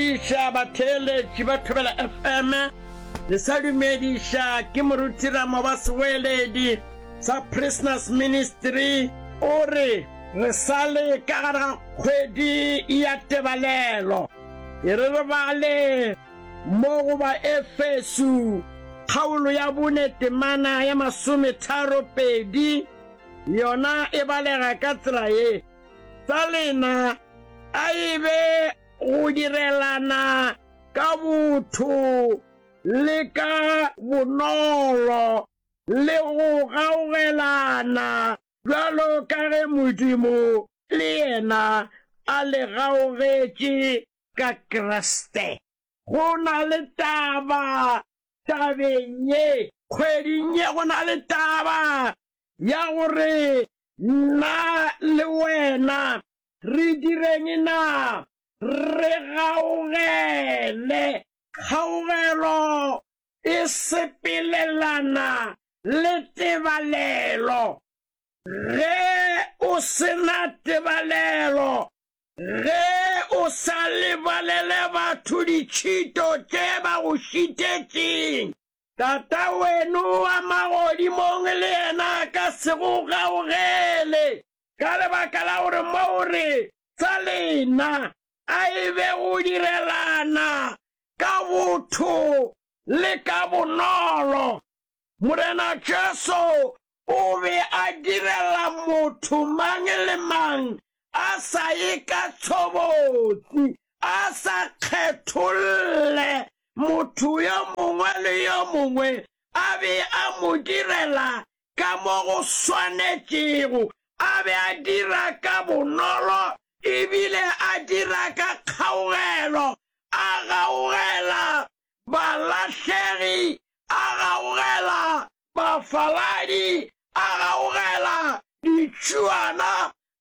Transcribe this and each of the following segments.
Dumediša batheeletši ba Thobela FM. Le sa dumediša ke Moruti Ramoba Seweeledi sa Prisoners Ministry. O re re sa le ka gare ga kgwedi ya tebalelo. E re re bale mo go Baefeso kgaolo ya bone temana ya masometharopedi. Yona e balega ka tsela ye, Tsa lena a e be go direlana ka botho le ka bonolo le go gaogelana bjalo ka ge Modimo le yena a le gaogetše ka Kriste. Go na le taba tabeng ye. Kgweding ye go na le taba ya gore nna le wena Re direng na? Re gaogele. Kgaogelo e sepelelana le tebalelo. Ge o se na tebalelo, ge o sa lebalele batho ditšhito tše ba go šitetšeng, Tataweno wa magodimong le yena a ka se go gaogele. Ka lebaka la gore mo o re, Tsa lena a e be go direlana ka botho le ka bonolo. Morena Jesu o be a direla motho mang le mang a sa ye ka tshobotsi, a sa kgetholle motho yo mongwe le yo mongwe, a be a mo direla ka mo go swanetšego, a be a dira ka bonolo e bile a dira ka kgaugelo, a gaugela balahlegi, a gaugela bafaladi, a gaugela ditšhuana,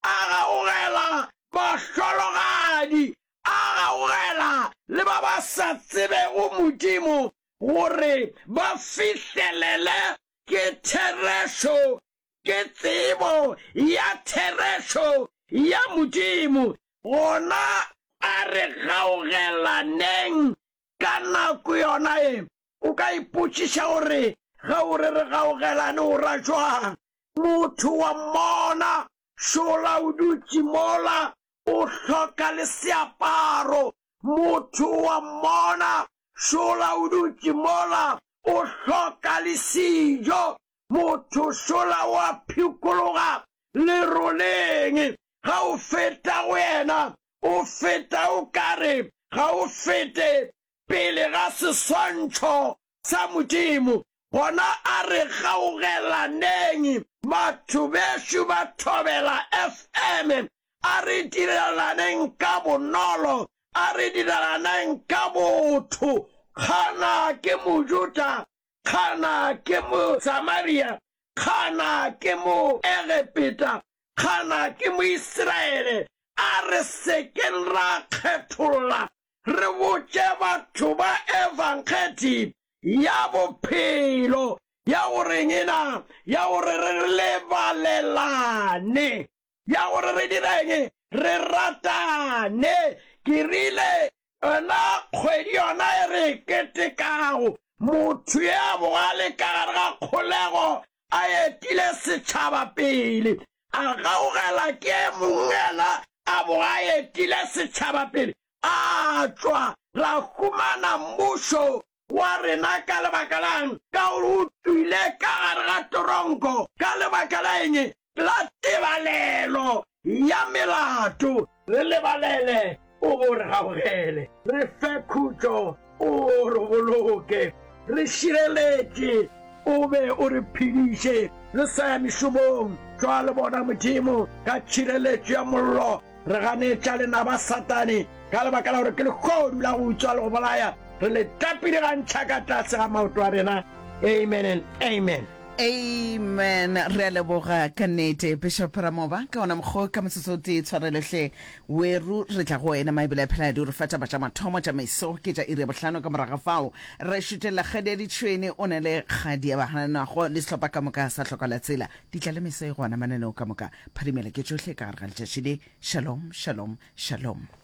a gaugela bahlologadi, a gaugela le ba ba sa tsebego Modimo gore ba fihlelele Ke therešo, ke tsebo ya therešo ya Modimo. Gona a re gaogelaneng ka nako yona ye. O ka ipotšiša gore, Ge o re re gaogelane o ra jwang? Motho wa mmona šola o dutše mola o hloka le seaparo. Motho wa mmona šola o dutše mola o hloka le sejo. Motho šola o a phikologa leroleng. Ga o feta go yena, o feta o ka re ga o fete pele ga seswantšho sa Modimo. Gona a re gaugelaneng, batho bešo ba Thobela FM, a re direlaneng ka bonolo, a re direlaneng ka botho. Kgana ke Mojuda, kgana ke Mosamaria, kgana ke Moegepeta, kgana ke Moisraele, a re se keng ra kgetholla Re botše batho ba Ebangedi ya bophelo ya goreng na? Ya gore re lebalelane. Ya gore re direng? Re ratane. Ke rile, Yona kgwedi yona e re e ketekago, motho yo a bogale ka gare ga kgolego a etile setšhaba pele, a gaugela ke e mongwe yena a bo a etile setšhaba pele, a tšwa, ra humana mmušo wa rena ka lebaka la'ng? Ka gore o tšwile ka gare ga toronko ka lebaka la eng? La tebalelo ya melato. Re lebalele, o bo re gaugele. Re fe khutšo, o re boloke. Re šireletše, o be o re phediše. Re sa ya mešomong, tšwa le bona, Modimo, ka tšhireletšo ya mollo. Re ganetša lenaba Satane, ka lebaka la gore ke lehodu la go utswa le go bolaya. Re le tapile gantšha ka tlase ga maoto a rena. Amen and amen. Amen. Re a leboga ka nnete Bishop Ramoba ka ona mokgwa ka motsotso o tee tshwarelo hle weru re tla go wena Maebele a Pheladi o re fa taba tša mathomo tša meso ke tša iri ya bohlano ka morago ga fao re šutelela kgadi ya ditšhwene o na le kgadi ya bagananago le sehlopha ka moka sa hloka la tsela di tla le meso e gona mananeo ka moka phadimela ke tšohle ka gare ga letšatši le shalom shalom shalom.